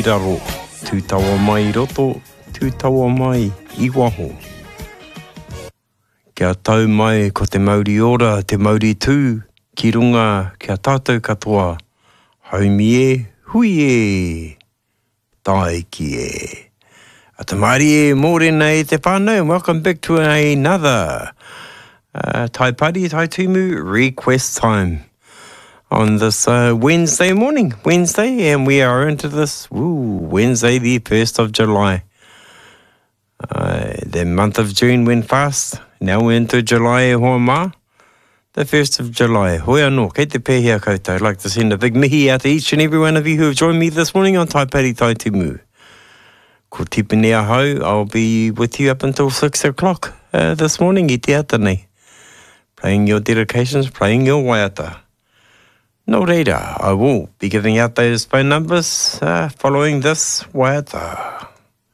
Raro, tūtawa mai i roto, tūtawa mai i waho. Kia tau mai ko te mauri ora, te mauri tū ki runga ki a tātou katoa, haumi e, hui e, tāiki e. Ata mārie mōrena e te whānau and welcome back to another uh, Tai Pari, Tai Tumu request time on this uh, Wednesday morning, Wednesday, and we are into this ooh, Wednesday, the 1st of July. Uh, the month of June went fast. Now we're into July e hoa mā. The 1st of July. Hoi anō, kei te pēhea koutou. I'd like to send a big mihi out to each and every one of you who have joined me this morning on Tai Pari Tai Timu. Ko Tipene ahau, I'll be with you up until 6 o'clock uh, this morning i te ata nei. Playing your dedications, playing your waiata. Nō reira, I will be giving out those phone numbers uh, following this waiata.